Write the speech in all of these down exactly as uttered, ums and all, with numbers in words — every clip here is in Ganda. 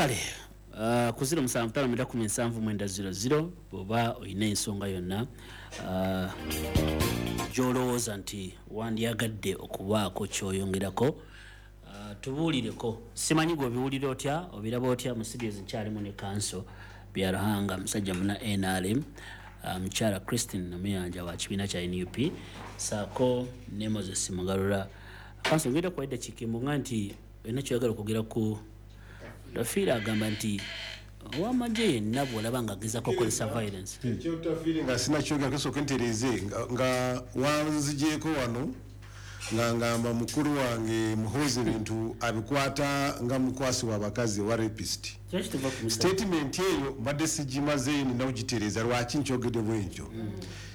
Kale uh, ku zero musanvu ttaano mwenda kumi nsanvu mwenda zero zero, bw'oba olina ensonga yonna uh, gy'olowooza nti wandyagadde okubaako ky'oyongerako, uh, tubuulireko. Simanyi gwe obiwulira otya, obiraba otya. Mu studios nkyalimu ne Kanso Byaruhanga, musajja muna N R M, uh, mukyala Christine Namuyanja wa kibiina kya N U P, saako ne Moses Mugalula. Kanso, ngenda kuwa eddakiika emu nti olina kyoyagala okwogera ku Otafiire. Agamba nti owamagye yenna bw'olaba nga agezako okukozesa violence. Ekyotafiire nga sinakyogera, kasooke ntereeze nga- nga wanzigyeko wano nga ngamba mukulu wange Muhoozi ebintu abikwata nga mukwasi w'abakazi wa rapist. Kyo kituva ku musa- Statement eyo mbadde sigimazeeyo, nina kugitereeza. Lwaki nkyogedde bwentyo?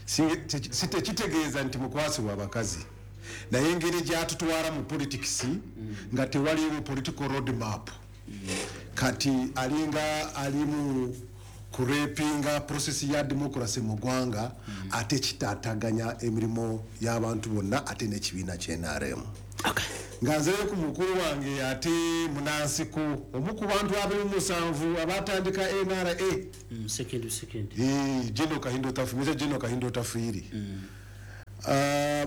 Si- te- si tekitegeeza nti mukwasi w'abakazi, naye engeri gyatutwala mu politics nga tewaliwo political road map, kati alinga alimu kurepinga process ya democracy mu ggwanga, ate kitaataganya emirimu y'abantu bonna ate n'ekibiina kye N R M. Okay. Nga nzeyo ku mukulu wange ate munansiko, omu ku bantu abiri mu musanvu abatandika N R A, Mm, second second Eh, General Kahinda Otafiire, Major General Kahinda Otafiire. Ah,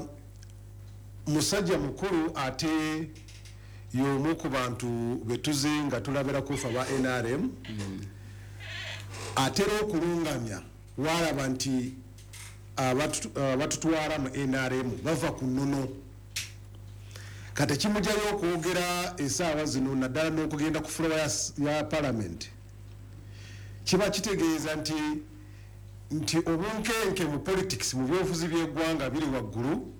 musajja mukulu ate y'omu ku bantu betuze nga tulabirako fe aba N R M. Atera okulungamya walaba nti abatu- abatutwala mu N R M bava ku nnono. Kati kimugyayo okwogera esaawa zino, naddala n'okugenda ku floor ya, ya parliament, kiba kitegeeza nti nti obunkenke mu politics, mu byobufuzi by'eggwanga biri waggulu.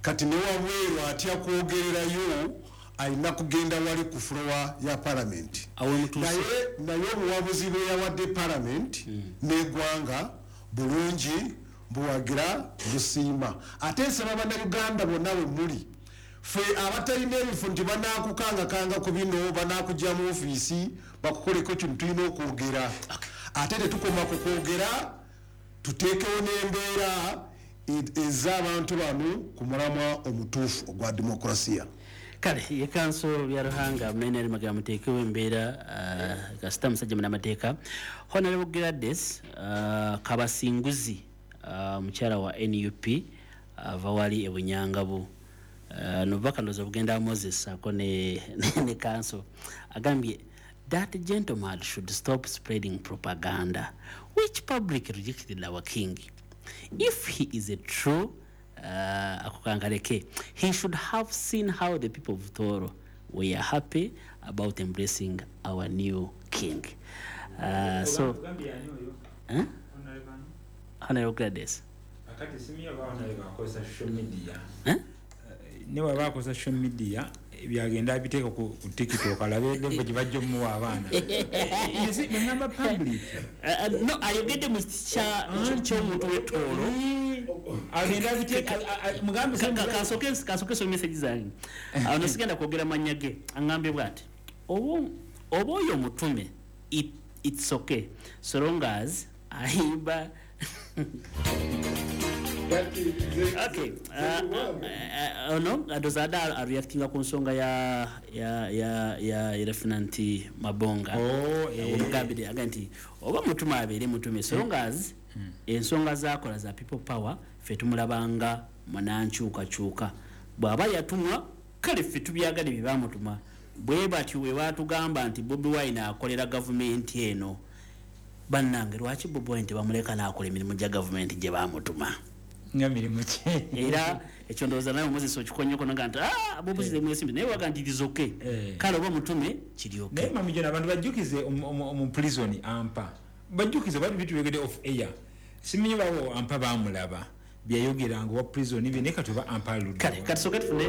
Kati ne wabweru atya kwogererayo, alina kugenda wali ku floor ya parliament. Awo mutuuse. naye naye obuwabuzi bwe yawadde parliament n'eggwanga bulungi, buwagira, busiima. Ate nsaba Bannayuganda bonna bwe muli, ffe abatalina ebifo, nti banakukangakanga ku bino, banakujja mu ofiisi bakukoleko kino, tulina okwogera. Ate tetukoma ku kwogera, tuteekewo n'embeera e- ez'abantu bano ku mulamwa omutuufu ogwa demokrasiya. Kale ye Kanso Byaruhanga munene magamba muteekewo embeera. uh, kasita musajja munamateeka. Honorable Gladys uh, Kabasinguzi, uh, mukyala wa N U P, ava wali e Bunyangabu, uh, nobubaka ndowooza bugenda Moses ako ne, ne, ne Kanso. Agambye that gentleman should stop spreading propaganda which public rejected our king. If he is a true uh, ako kangaleke, he should have seen how the people of Toro were happy about embracing our new king. uh, so Ogambye ani oyo? Eh? Honorable ani? Honorable Gladys. Akati simanyi oba honorable akozesa social media. Eh? Ne waba akozesa social media, byagenda abiteeka ku ku TikTok, alabe level gye bajja omuwa abaana. Ngamba public. Uh, uh, no, ayogedde mu kya- ky'omuntu w'ettoolo. Agenda abiteeka, mugambe. Ka- ka- kansooke kansooke some message zange. Awo no sigenda kwogera mannya ge. Aŋŋambye bw'ati, oba oba oyo omutume, it, it's okay so long as ayimba. Okay, uh, uh, ono ndowooza adde areactinga ku nsonga ya ya ya ya Lieutenant Mabonga. Oh, eh. Omugambire aga nti oba mutume abeere mutume so long as ensonga zakola za People Power, ffe tumulabanga munankyukakyuka. Bw'aba yatumwa, kale ffe tubyagale bye bamutuma. Bwe batyo bwe batugamba nti Bobi Wine akolera gavumenti eno. Bannange, lwaki Bobi Wine tebamuleka n'akola emirimu gya gavumenti gye bamutuma? Nga mirimu ki? Era ekyo ndowooza nawe Moses okikonyeko naga nti, "Ah, Bobi mwesimbi," naye waga nti it is okay. Eh. Kale oba mutume kiri okay. Naye mami jona, abantu bajjukize omu- omu omu prison ampa bajjukize bali bituyogedde off air. Simanyi bawo ampa bamulaba byayogeranga wa prison bye, naye kati oba ampa aludde. Kale katusooke tufune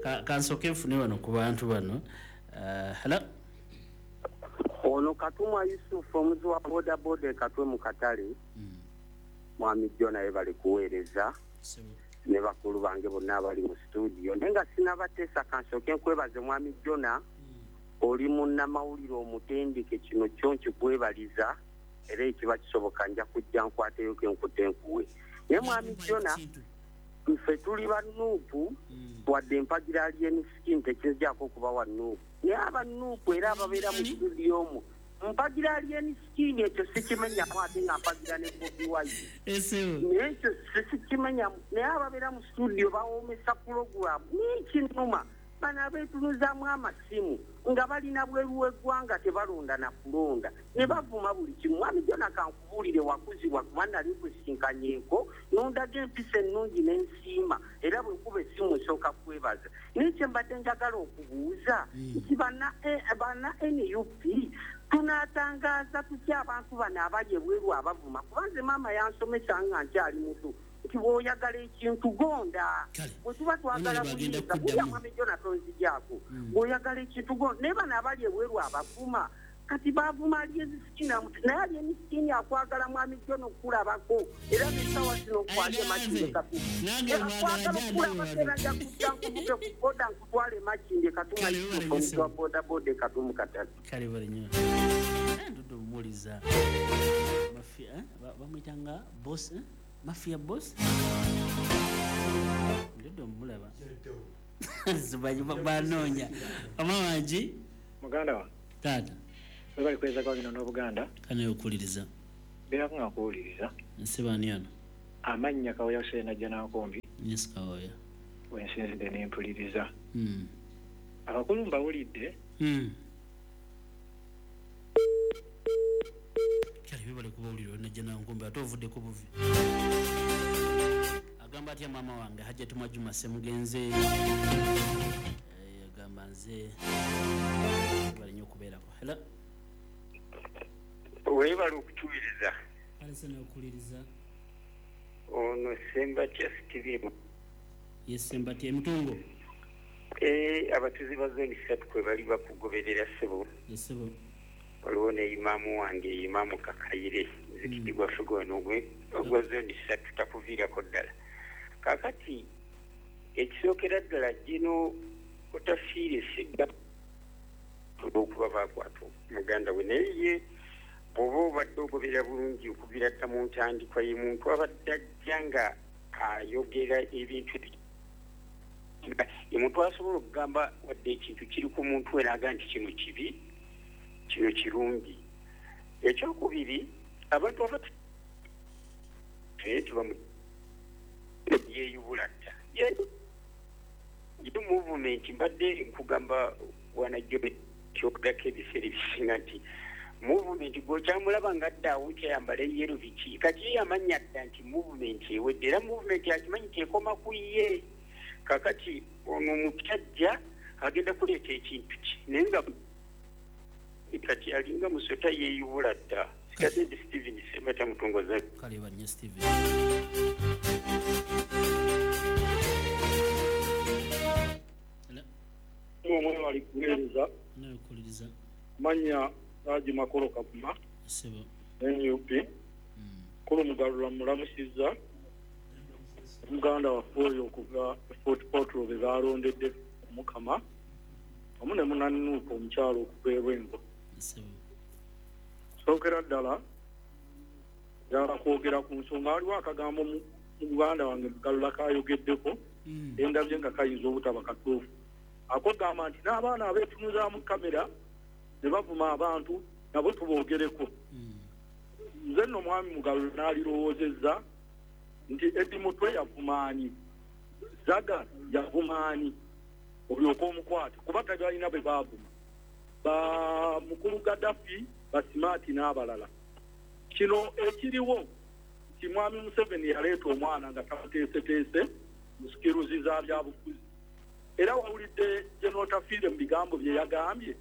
ka- kansooke nfune wano ku bantu bano. Uh, hello Ono Katumwa Yusufu, omuzi wa bodaboda e Katwe mu katale. Mwami Jona, bali kuweereza ne bakulu bange bonna abali mu studio, naye nga sinabateesa, kansooke nkwebaze mwami Jona, oli munnamawulire omutendeke. Kino kyo nkikwebaliza, era ekiba kisoboka nja kujja nkwateyo kenkute nkuwe. Naye mwami Jona, ffe tuli ba N U P, wadde empagira Alien Skin, tekinzijako okuba wa N U P. Naye abanuupu era ababeera mu studio omwo mpagira Alien Skin, ekyo sikimenyamu, ate nga mpagira ne Bobi Wine, naye ekyo sikimenyamu. Naye ababeera mu studio bawoomesa pulogulaamu n'ekinuma. Bano abeetunuzaamu amasimu nga balina bweru w'eggwanga tebalonda na kulonda ne bavuma buli kimu. Mwami Jona, kankubuulire, wakuzibwa kuba nali nkusinkanyeeko n'ondaga empisa ennungi n'ensiima, era bwe nkuba essimu nsooka kwebaza. Naye kye mbadde njagala okubuuza nti banna banna N U P tunaatangaaza tutya abantu bano abali ebweru abavuma? Kuba nze maama yansomesa nga nkyali muto nti bw'oyagala ekintu gonda, bwe tuba twagala buyinza kulya. Mwami Jona, tonzigyako, bw'oyagala ekintu gonda. Naye bano abali ebweru abavuma, kati bavuma Alien Skin, naye Alien Skin akwagala mwami Jona okulabako, era n'essaawa zino nkwate Makindye Katuma, okulabako era nja kujja nkuvuge ku boda nkutwale Makindye Katuma, omutu wa bodaboda e Katumu Katale. Kale bali nnyo ndudde omuwuliza mafia bamuyita nga boss, mafia boss, ndudde omulaba banoonya mama wangi. Muganda wange. Taata. Webali kweza kwa bino n'Obuganda. Kane okuwuliriza. Mbeerako nga nkuwuliriza. Nsibaani ono? Amannya Kawoya Hussein Najjanankumbi. Yes, Kawoya. Wensinzidde ne mpuliriza. Mm. Abakulu mbawulidde. Mm. Kale bibale kubawulira Najjanankumbi, ate ovuddeko buvi. Agamba atya maama wange Hajjati Mwajuma Ssemugenze? Eh, agamba nze bali nnyo okubeerako. Hello. Weebale okutuwuliriza. Alese n'okuwuliriza. Ono Ssembatya Steven. Yes, Ssembatya Emitungo. Eh, abatuuze ba zooni ssatu kwe bali bakugoberera ssebo. Yes, ssebo. Waliwo ne imaamu wange, imaamu Kakayire, muzikiti gwaffe gwano ogwa zooni ssatu takuviirako ddala. Kaakati ekisookera ddala gino otafiire sigga olw'okuba baakwata muganda we, naye ye bw'oba obadde ogoberera bulungi okuviira dda mu ntandikwa, ye muntu abadde ajja nga ayogera ebintu, ye muntu asobola okugamba wadde ekintu kiri ku muntu we n'agamba nti kino kibi, kino kirungi. Ekyokubiri, abantu abatu tubamu yeeyubula dda ye movement. Mbadde nkugamba wanajjo kyogerako ebiseera ebisinga nti movement gwokyamulaba nga adda awo kyayambala eyero biki, kati ye yamanya dda nti movement ewedde, era movement akimanyi tekoma ku ye. Kakati ono omusajja agenda kuleeta ekintu ki, naye nga kati alinga musota yeeyubula dda. Sigadde ndi Steven Ssembatya Mutongoza. Kale bannyo Steven. Hello. Omwe wali kuweereza. N'okuwuliriza. Manya Haji Makolo Kavuma. Ssebo. N U P. Kulu Mugalula mulamusizza. Muganda waffe oyo okuva Fort Portal be baalondedde Omukama wamu ne munannuuka omukyalo okuva e Lwengo. Ssebo. Sookera ddala njagala kwogera ku nsonga, waliwo akagambo mu muganda wange Mugalula kayogeddeko endabye nga kayinza obutaba katuufu. Akogamba nti n'abaana abeetunuzaamu kamera ne bavuma abantu nabo tuboogereko. Nze nno mwami Mugalula n'alirowoozezza nti Eddie Mutwe yavumaani, Zaga yavumaani, olyoka omukwate kuba tebalina bwe baavuma, ba mukulu Gaddafi, Basimaati n'abalala. Kino ekiriwo nti mwami Museveni yaleeta omwana nga tamuteeseteese mu sikiruzi za byabufuzi, era wawulidde General Otafiire mu bigambo bye yagambye.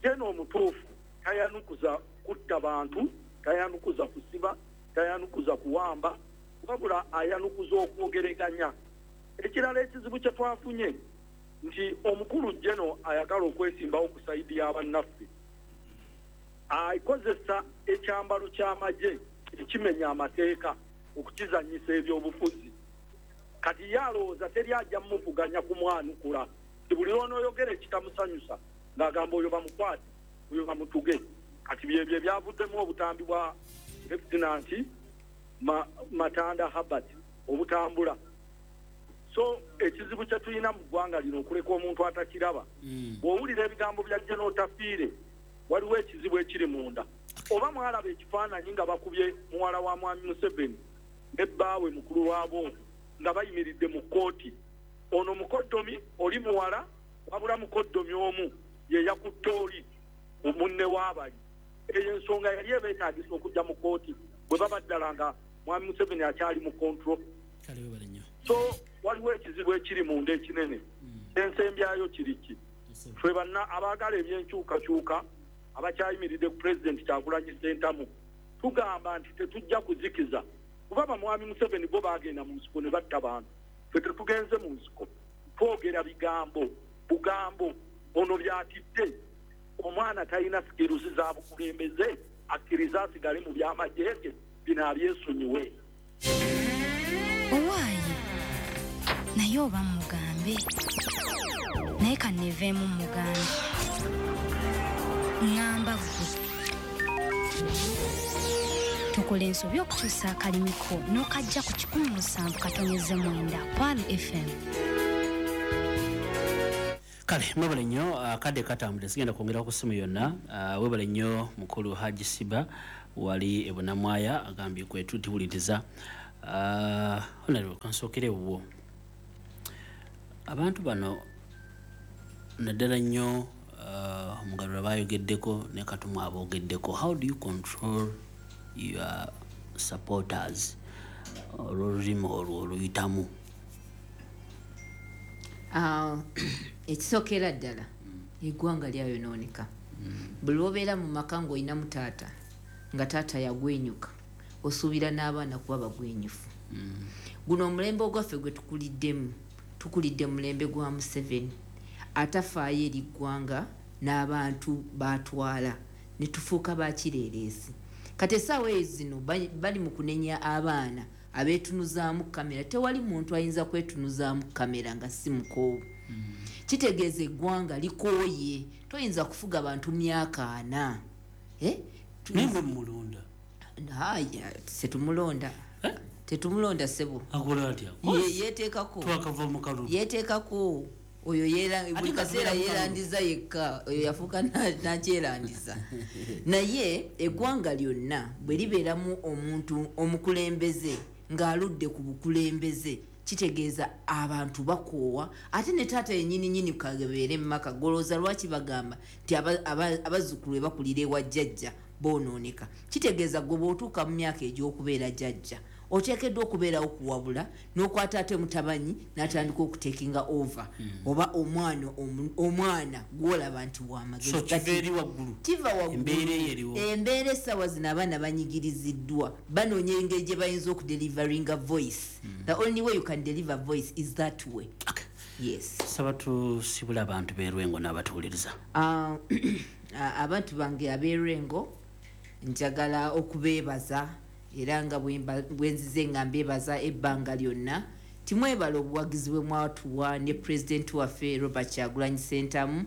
General omutuufu tayanukuza kutta bantu, tayanukuza kusiba, tayanukuza kuwamba, wabula ayanukuza okwogereganya. Ekirala ekizibu kye twafunye nti omukulu General ayagala okwesimbawo ku sayidi y'abannaffe, akozesa ekyambalo ky'amagye ekimenya amateeka okukizannyisa ebyobufuzi. Kati ye alowooza teri ajja mumuvuganya kumwanukula, nti buli lw'onooyogera ekitamusanyusa ng'agamba oyo bamukwate, oyo bamutuge. Kati byebyo ebyavuddemu obutambi bwa Lieutenant Ma, Matanda Herbert obutambula. So ekizibu kye tulina mu ggwanga lino okuleka omuntu atakiraba. Bw'owulira ebigambo bya General Otafiire, waliwo ekizibu ekiri munda. Oba mwalaba ekifaananyi nga bakubye muwala wa Mwami Museveni ne bbaawe mukulu waabo nga bayimiridde mu kkooti. Ono mukoddomi oli muwala, wabula mukoddomi omu ye yakutte oli munne w'abali. Eyo ensonga yali ebeetaagisa okujja mu kkooti bwe baba ddala nga Mwami Museveni akyali mu control. So waliwo ekizibu ekiri munda ekinene. Ensembyayo kiri ki? Ffe banna abaagala ebyenkyukakyuka abakyayimiridde ku Pulezidenti Kyagulanyi Ssentamu tugamba nti tetujja kuzikiza, kuba bamwami Museveni bo baagenda mu nsiko ne batta bantu. Ffe tetugenze mu nsiko, twogera bigambo bugambo. Ono byatidde omwana talina skills za bukulembeze, akkiriza asigale mu by'amagye ge, bino abyesonyiwe. Owaaye naye oba mugambe, naye kanneeveemu mugambe. Ŋŋamba ggwe tukola ensobi okukyusa akalimiko n'okajja ku kikumi musanvu katonyeze mwenda Kwal F M. Kale mwebale nnyo, akadde katambudde, sigenda kwongera ku ssimu yonna. Webale nnyo mukulu Haji Siba wali e Bunamwaya, agambye kwe tutiwuliriza. Honorable, kansookere wuwo. Abantu bano naddala nnyo Mugarura bayogeddeko ne Katumwa aboogeddeko. How do you control your supporters olw'olulimi olwo oluyitamu? Ekisookera ddala eggwanga lyayonooneka. Buli lw'obeera mu maka ng'olinamu taata nga taata yagwenyuka, osuubira n'abaana kuba bagwenyufu. Guno omulembe ogwaffe gwe tukuliddemu, tukulidde mulembe gwa Museveni atafaayo eri ggwanga n'abantu batwala ne tufuuka bakireereesi. Kati essaawa ezo zino bali mu kunenya abaana abeetunuzaamu kamera. Tewali muntu ayinza kwetunuzaamu kamera nga si mukoowu. Kitegeeza eggwanga likooye, toyinza kufuga bantu myaka ana. Naye mwe mumulonda? Haya, tetumulonda. Tetumulonda ssebo. Akola atya? Yeeteekako. Twakava mu kalulu. Yeeteekako. Oyo buli kaseera yeerandiza yekka, oyo yafuuka nakyerandiza. Naye eggwanga lyonna bwe libeeramu omuntu omukulembeze ng'aludde ku bukulembeze, kitegeeza abantu bakoowa. Ate ne taata yennyini nnyini kabeere mu maka, golooza lwaki bagamba nti abazzukulu be bakulira ewa jjajja boonooneka. Kitegeeza gwe bw'otuuka mu myaka egy'okubeera jjajja oteekeddwa okubeerawo okuwabula n'okwata ate mutabanyi n'atandika okutekinga over oba omwana omwana gw'olaba nti w'amagezi. So kiva eri waggulu, kiva waggulu. Embeera essaawa zino abaana banyigiriziddwa, banoonya engeri gye bayinza okudeliveringa voice. The only way you can deliver voice is that way. Okay. Yes. Saba tusibule abantu b'e Lwengo n'abatuwuliriza. Abantu bange ab'e Lwengo njagala okubeebaza, era nga bwenzize nga mbeebaza ebbanga lyonna. Timwebala obuwagizi bwe mwatuwa ne pulezidenti waffe Robert Kyagulanyi Ssentamu.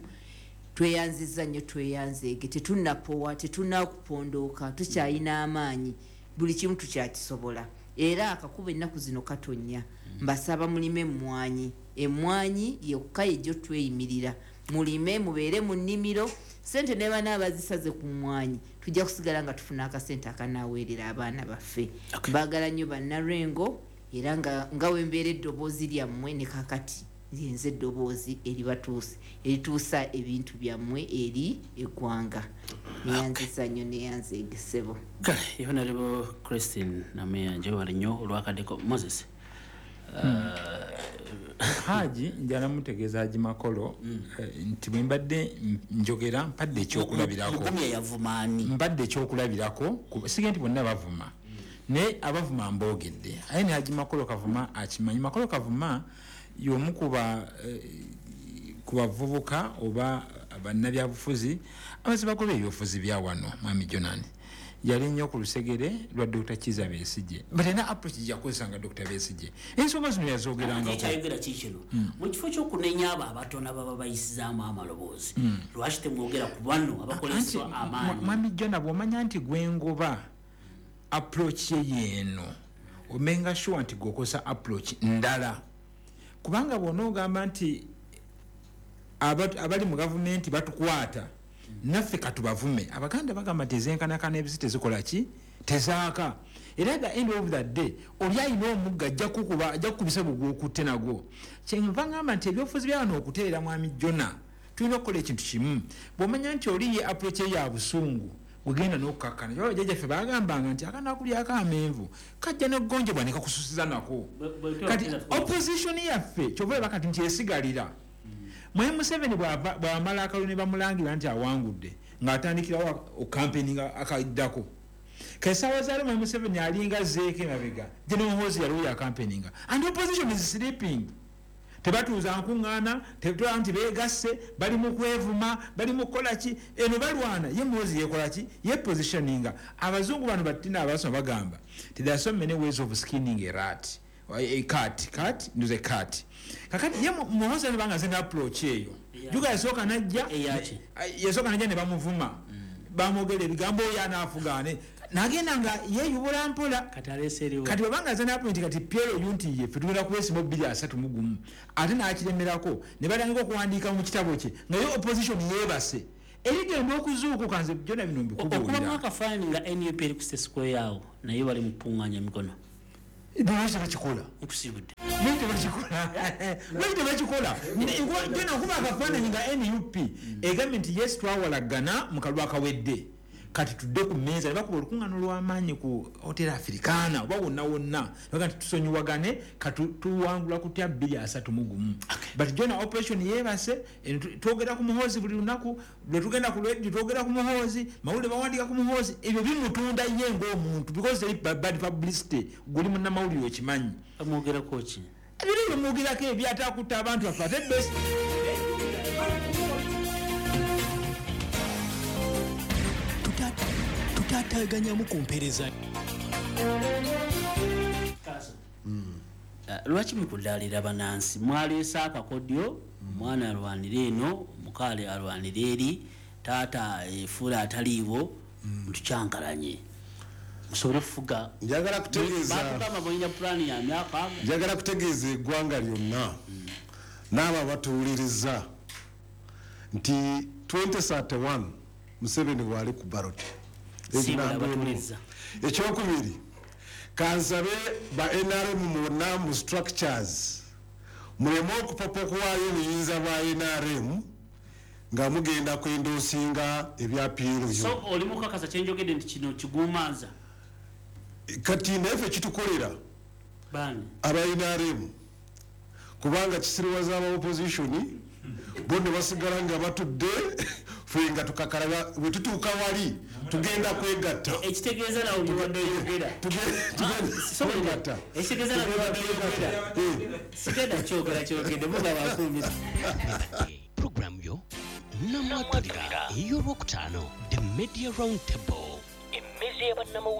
Tweyanzizza nnyo, tweyanzeege, tetunnapowa, tetunnakupondooka, tukyalina amaanyi, buli kimu tukyakisobola. Era akakuba ennaku zino katonnya. Mbasaba mulime emmwanyi, emmwanyi yokka yejjo tweyimirira. Mulime, mubeere mu nnimiro, ssente ne banaabazisaze ku mmwanyi, tujja kusigala nga tufuna akasente akanaaweerera abaana baffe. Mbaagala nnyo Bannalwengo, era nga nga wembeera eddoboozi lyammwe ne kaakati nze eddoboozi eribatuusa, erituusa ebintu byammwe eri eggwanga. Neyanziza nnyo, neyanzeege ssebo. Kale Honorable Christine Namuyanja wali nnyo olwakaddeko. Moses. Haji njala mutegeeza Haji Makolo nti bwe mbadde njogera mpadde ekyokulabirako. Mbadde ekyokulabirako, sige nti bonna bavuma, naye abavuma mboogedde. Aye ne Haji Makolo Kavuma akimanyi. Makolo Kavuma y'omu ku bavubuka oba bannabyabufuzi abazi bagoba ebyobufuzi bya wano. Mwami Jonani yali nnyo ku lusegere lwa Doctor Kizza Besigye, but alina approach gye yakozesanga Doctor Besigye. Ensonga zino yazoogerangako. Ekyayogera kikino mu kifo ky'okunenya abo abatono ababa bayisizaamu amaloboozi, lwaki temwogera ku bano abakozesa amaanyi? Mwami Jona, bw'omanya nti gwengoba approach ye yeeno, omenga sure nti gwokozesa approach ndala. Kubanga bw'onoogamba nti abali mu gavumenti batukwata, naffe katubavume. Abaganda bagamba nti ezenkanakana ebisi tezikola ki? Tezaaka. Era at the end of the day, oli alina omugga ajja kukuba, ajja kukubisa bugwokutte nagwo. Kyenva ngamba nti ebyobufuzi bya wano okutereera Mwami Jona, tulina okukola ekintu kimu. Bw'omanya nti oli ye approach ye ya busungu, gugenda n'okukakkana. Kyova bajjajjaffe baagambanga nti akanakulyako amenvu kajja n'okugonjebwa ne kakususiza nako. Kati opposition yaffe kyova olaba kati nti esigalira. Mwami Museveni bw'amala akalulu ne bamulangira nti awangudde, ng'atandikirawo okampeininga akaddako. K'essaawa zaali Mwami Museveni alinga azzeeko emabega, General Muhoozi yaliwo yakampeininga. And opposition is sleeping. Tebatuuza nkuŋŋaana, tetulaba nti beegasse, bali mu kwevuma, bali mu kukola ki, eno balwana, ye Muhoozi yeekola ki, ye positioninga. Abazungu bano batina abasoma bagamba nti there are so many ways of skinning a rat, a cat, cat, ndoze cat. Kakati ye Muhoozi alibanga azze n'approach eyo. Juga yasooka n'ajja, yasooka n'ajja ne bamuvuma. Bamwogera ebigambo oyo anaafugaane. Nagenda nga yeeyubula mpola. Kati bw'abanga azze n'appoint kati P L U nti ye ffe tugenda kwesiba bbiri asatu mu gumu. Ate n'akiremerako ne batandika okuwandiika mu kitabo kye nga ye opposition yeebase. Erigenda okuzuukuka nze byonna bino mbikubuulira. Okubamu akafaananyi nga N U P eri ku State Square awo naye bali mu kukungaanya emikono. Lwaki tebakikola? Nkusiibudde. Lwaki tebakikola? Lwaki tebakikola? Jona okuba akafaananyi nga N U P egambye nti yes twawalagana mu kalulu akawedde. Kati tudde ku mmeeza ne bakuba olukuŋŋaana olw'amaanyi ku Hotel Africana oba wonna wonna. Baga nti tusonyiwagane kati tuwangula kutya bbiri asatu mu gumu. But Jona operation yeebase, twogera ku Muhoozi buli lunaku, lwe tugenda ku radio twogera ku Muhoozi, mawulire bawandiika ku Muhoozi, ebyo bimutunda ye ng'omuntu because teri bad publicity, guli munnamawulire okimanyi. Bamwogerako ki? Ebiri bimwogerako ebyataakutta abantu baffe ate best. Tutaataganyamu ku mpeereza. Lwaki mukudaalira bannansi? Mwaleese akakodyo, omwana alwanira eno, omukaale alwanira eri, taata efuula ataliiwo, mutukyankalanye. Musobole okufuga. Njagala kutegeeza. Baatugamba mulina pulaani ya myaka. Njagala kutegeeza eggwanga lyonna n'abo abatuwuliriza nti twenty thirty-one Museveni waali ku ballot. Ekyokubiri, kansabe ba N R M mwonna mu structures muleme okupapa okuwaayo obuyinza bwa N R M nga mugenda kwendoosinga ebya P L U. So oli mukakasa kyenjogedde nti kino kigumanza? Kati naffe kitukolera aba N R M kubanga kisiriwaza aba opposition bo ne basigala nga batudde ffe nga tukakalaba bwe tutuuka wali tugenda kwegatta. Ekitegeeza nawe obadde oyogera. Tugenda Ekitegeeza nawe obadde oyogera. Sigenda kyogera kyogedde mugaba akumbi. Program yo namwatulira ey'olwokutaano The Media Round Table.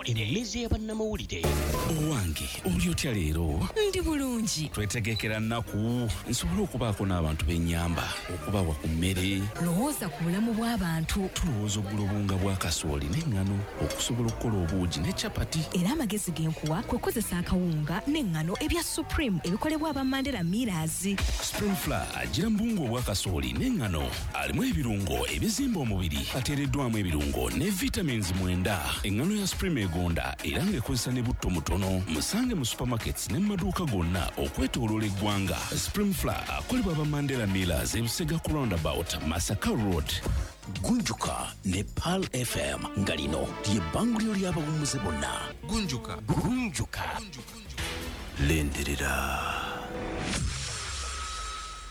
Emmeza y'abannamawulire. Owange oli otya leero? Ndi bulungi. Twetegekera nnaku nsobole okubaako n'abantu b'ennyamba okubawa ku mmere. Lowooza ku bulamu bw'abantu. Tulowooza okugula obuwunga bwa kasooli n'eŋŋano okusobola okukola obuugi ne capati. Era amagezi ge nkuwa kwe kukozesa akawunga n'eŋŋano ebya Supreme ebikolebwa aba Mandela Millers. Supreme Flour agira mu buwunga obwa kasooli n'eŋŋano alimu ebirungo ebizimba omubiri ateereddwamu ebirungo ne vitamins mwenda. Eŋŋano ya Supreme egonda era ng'ekozesa ne butto mutono. Musange mu supermarkets ne mu maduuka gonna okwetooloola eggwanga. Supreme Flour akolebwa aba Mandela Millers ebusega ku roundabout Masaka Road. Gunjuka ne Pearl F M nga lino ly'ebbanguliro ly'abawummuze bonna. Gunjuka. Gunjuka. Lindirira.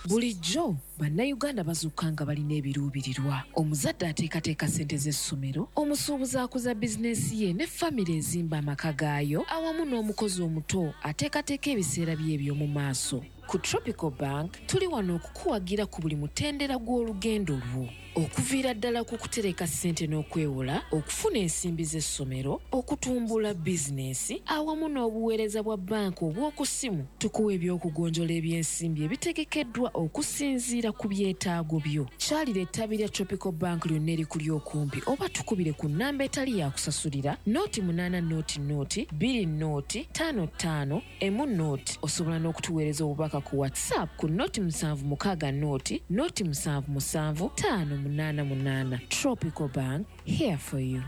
Bulijjo bannayuganda bazuuka nga balina ebiruubirirwa. Omuzadde ateekateeka ssente z'essomero, omusuubuzi akuza bizinensi ye ne famire ezimba amaka gaayo, awamu n'omukozi omuto ateekateeka ebiseera bye eby'omu maaso. Ku Tropical Bank tuli wano okukuwagira ku buli mutendera gw'olugendo lwo. Okuviira ddala ku kutereka ssente n'okwewola, okufuna ensimbi z'essomero, okutumbula bizinensi, awamu n'obuweereza bwa banka obw'oku ssimu. Tukuwa eby'okugonjola ebyensimbi ebitegekeddwa okusinziira ku byetaago byo. Kyalira ettabi lya Tropical Bank lyonna erikuli okumpi oba tukubire ku nnamba etali ya kusasulira nooti munaana nooti nooti bbiri nooti ttaano ttaano emu nooti. Osobola n'okutuweereza obubaka ku WhatsApp ku noti musanvu mukaaga noti noti musanvu musanvu ttaano munaana munaana. Tropical Bank, here for you.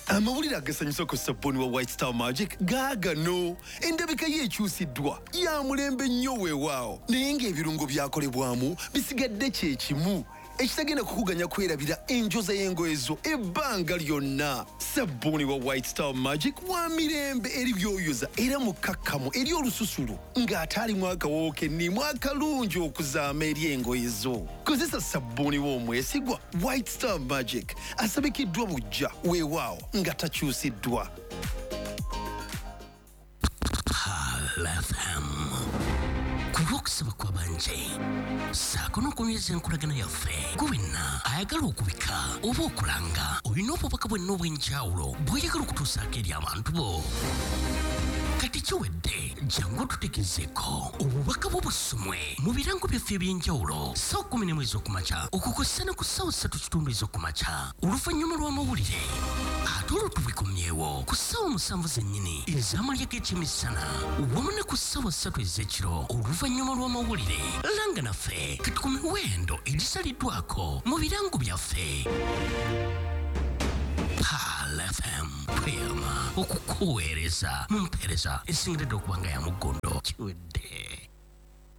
Amawulire agasanyusa ku sabbuuni wa White Star Magic gaagano. Endabika ye ekyusiddwa ya mulembe nnyo weewaawo, naye ng'ebirungo byakolebwamu bisigadde kye kimu ekitagenda kukuganya kwerabira enjoza y'engoye zo ebbanga lyonna. Sabbuuni wa White Star Magic wa mirembe eri byoyoza era mukkakkamu eri olususu ng'ate alimu akawoowo kennimu akalungi okuzaama eri engoye zo. Kozesa sabbuuni w'omwesigwa White Star Magic asabikiddwa buggya weewaawo nga takyusiddwa. Pearl F M ku lw'okusaba kw'abanje ssaako n'okunyweza enkolagana yaffe. Gwe wenna ayagala okubika oba okulanga, olina obubaka bwenna obw'enjawulo bw'oyagala okutuusaako eri abantu bo. Kati kiwedde, jangu otutegezeeko obubaka bwo busomwe mu birango byaffe eby'enjawulo ssaawa kkumi n'emu ez'okumakya okukosa ne ku ssaawa ssatu kitundu ez'okumakya oluvannyuma lw'amawulire, ate olwo tubikomyewo ku ssaawa musanvu zennyini ez'amalya g'ekyemisana wamu ne ku ssaawa ssatu ez'ekiro oluvannyuma lw'amawulire. Langa naffe kati ku miwendo egisaliddwako mu birango byaffe. Pearl F M tweyama okukuweereza mu mpeereza esingiridde okuba nga ya muggondo. Kiwedde.